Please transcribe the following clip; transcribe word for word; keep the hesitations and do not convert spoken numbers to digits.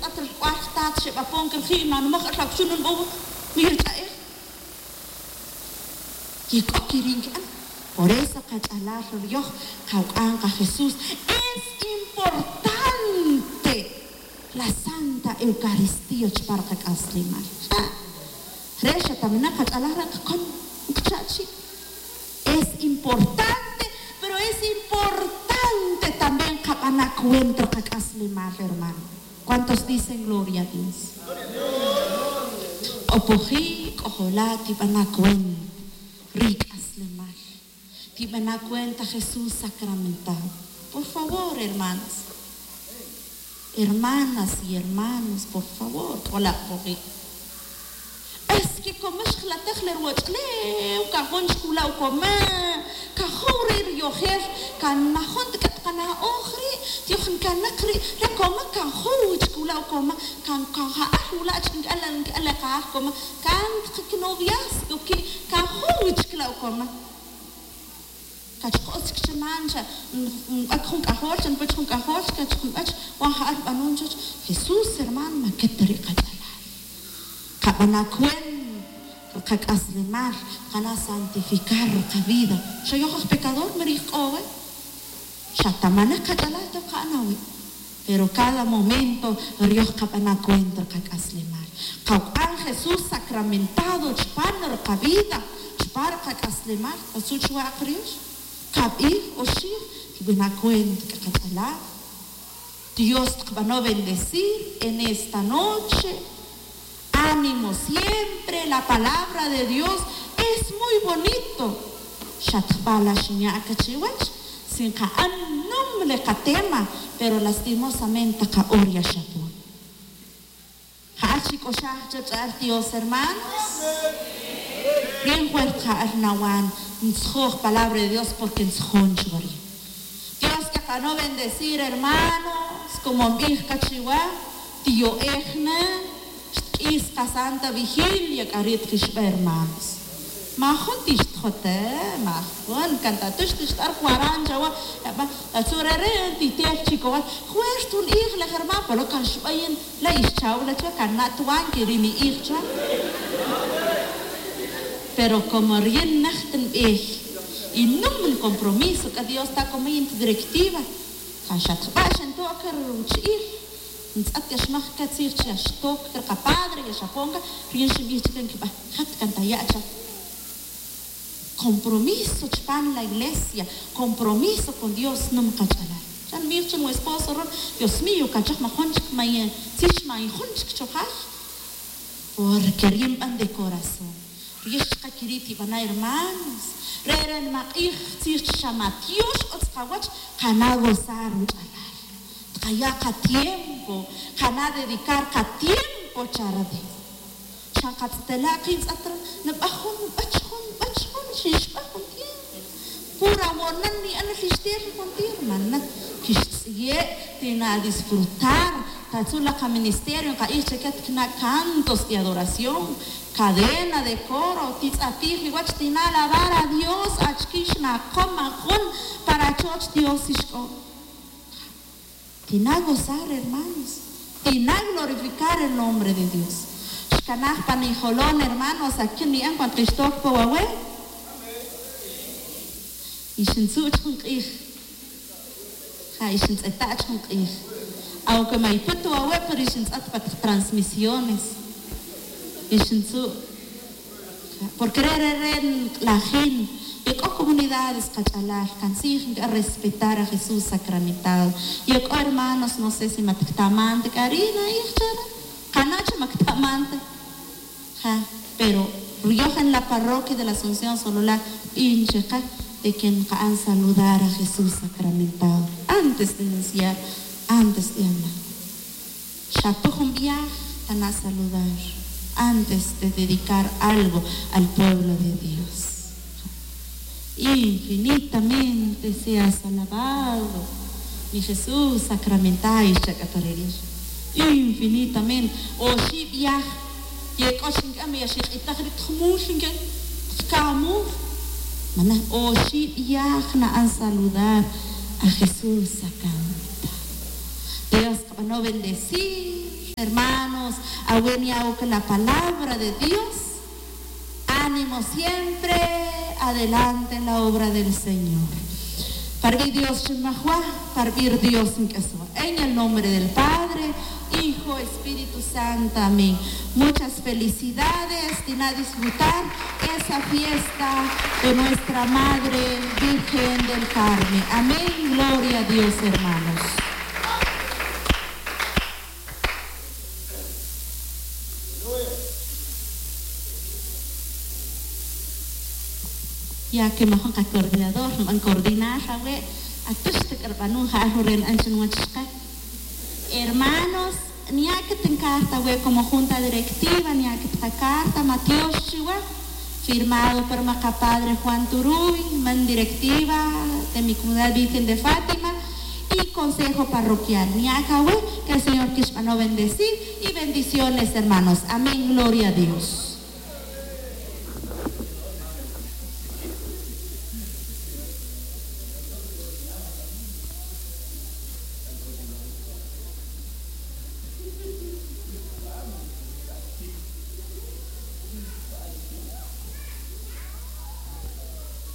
Rat rk'ual jtat xeb'apon kirji' manmoj el akuchun nb'ow. Mir ch'a'ej. Ye k'o kiri' nki'an. Por eso qach'alal riyoj qawuk'an qa Jesús. Es importante la Santa Eucaristía chupan ri qak'aslemal. Re' xa ta winak qach'alal re' qakon nqcha' chi'. Es importante, pero es importante también qab'ana' cuenta ri qak'aslemal, hermano. ¿Cuántos dicen gloria a Dios? Q'opoji', k'ojola', tib'ana' cuenta ri k'aslemal. Tib'ana' cuenta Jesús sacramentado. Por favor, hermanos. Hermanas y hermanos, por favor, k'ola' q'opoji'. Es que como xjlataj le ruwach'ulew, kan jun chkula' u coma, kan jow re' riyojel, kan majun ta k'a ta qana'oj ri', tiyoj nkaneq ri', re' coma kan jow chkula' u coma, kan, kan ja'al wula' chik nk'al, nk'al le qa'aj coma, kan ta qanoviazgo ki', kan jow chkula' u coma. Kachq'os chik chaman, xa nb'ak jun k'ajol, xa npach jun k'ajol, xa kach jun b'ach, wan ja'al rub'anon chach. Jesús, hermano, ma ke ta ri' qach'alal. Qab'ana' cuenta ri qak'aslemal, qana' santificar ri qavida. Xa yoj aj pecador, mi rij k'o we. Xa ta maneq qach'alal, toj qa'an awi'. Pero cada momento riyoj qab'ana' cuenta ri qak'aslemal. Qawuk'an Jesús sacramentado chupan ri qavida, chupan ri qak'aslemal. Katzu' chuwa' aq riyoj? Kab'ij, oxib', tib'ana' cuenta k'a qach'alal. Dios tqab'ano' bendecir en esta noche. Ánimo siempre, la palabra de Dios es muy bonito. Xa ta jb'a' la xinya' aka chiwech, si nqa'an num le qatema, pero lastimosamente ta qa'or ya xapon. Ja'al xik'oxaj cha ch'a'al Dios, hermanos. Bien fuerte ja'al nawan ntzjoj palabra de Dios, porque ntzjon chuwa' ri'. Dios k'aqano' bendecir, hermanos, como nbij qa chiwa, tiyo'ej na, xtk'is qa Santa Vigilia, k'a ri' tqixbe, hermanos. Majun tixtjote, majun, kan ta tu' xtixt'ar juaran chawa, aba, atzu' re', re' titel chikowal, juer jun ij le, hermano, pero kan xbe yin, la ixchaw la chwa, kan na' tuwan que ri ni'ij chwa. Pero como riyin nej ta nbij, y num ncompromiso, k'a Dios ta como yin ta directiva, kan xa tjba' xento' aka ruchi'il, ntz'et ya xmaj aka tzij chi ya xtok aka ri qapadre, ya xapon aka, riyin xinbij chike nkibaj, jat kan ta ya' cha. Compromiso chupan la iglesia, compromiso con Dios, num qach'alal. Xa nbij chin we esposo ron, Dios mío, kan choj majun chik, may tzij chi may jun chik chojay, porque riyin nban de corazón. Riyin xchiqa kiri' tibana' hermanos, re' re' nimaq'ij tzij chi xa matiox utz qawach, qana' gozar ruch'alal, tqaya' qatiempo, qana' dedicar qatiempo cha re Dios. Xa nqatz'etela' qin tz'et re', nbaj jun, nbach jun, nbach jun, xinxbaj jun tiempo. Pura wonan ni'an, xtel jun tiempo, mana, kixtz'iye', tina' disfrutar. Tatzu' la qaministerio nqa'ij chike, tikna' cantos de adoración, cadena de coro, titz'apij iwach, tina' alabar a Dios, achike xnaqom ajun para achoch Dios ixk'o. Tina' gozar, hermanos. Tina' glorificar el nombre de Dios. Xkanaj pan ijolon, hermanos, akin ni'an cuando xtok pa wawe'. Y xintzu' chik jun q'ij. Ja, y xintz'eta' chik jun q'ij. Aunque ma yiput ta wawe', pero y xintz'et pa transmisiones. Y xintzu'. Porque re', re', re' nk'lajin, ye k'o comunidades qach'alal, kantzij nkirespetar a Jesús sacramentado. Ye k'o hermanos, no sé si ma tiktaman ta k'a ri' na'ij cha re', qana' chi ma ktaman ta. Ja, pero riyoj en la parroquia de la Asunción Sololá, bin chike de que nqa'an saludar a Jesús sacramentado antes de iniciar, antes de hablar. Xa pa jun viaje tana' saludar antes de dedicar algo al pueblo de Dios. Infinitamente seas alabado, mi Jesús sacramentado, xcha' k'a ta re' ri'. Infinitamente. Oxib' viaje ye k'o chi nk'am, ya xiq'itaj ri' ta jumul nk'am, ta jkamul. Mana, oxib' viaje na'an saludar a Jesús sacramentado. Dios qab'ano' bendecir. Hermanos, awe' nya' ok la palabra de Dios. Ánimo siempre, adelante en la obra del Señor. Para bi Dios xinmajwa, para bi Dios nk'aswa. En el nombre del Padre, Hijo, Espíritu Santo. Amén. Muchas felicidades. Tina disfrutar esa fiesta de nuestra Madre Virgen del Carmen. Amén. Gloria a Dios, hermanos. Ya que majun qa coordinador nb'an coordinar awe', atüx ta k'a rb'anun ja'al jun re' nb'an chi nwach chqe. Hermanos, nya' k'a ta ncarta awe' como junta directiva, nya' k'a ta qacarta, matiox chiwa. Firmado por ma qapadre Juan Turuy, man directiva de mi comunidad Virgen de Fátima y consejo parroquial. Nya' k'a awe', que el Señor kixb'ano bendecir y bendiciones, hermanos. Amén, gloria a Dios.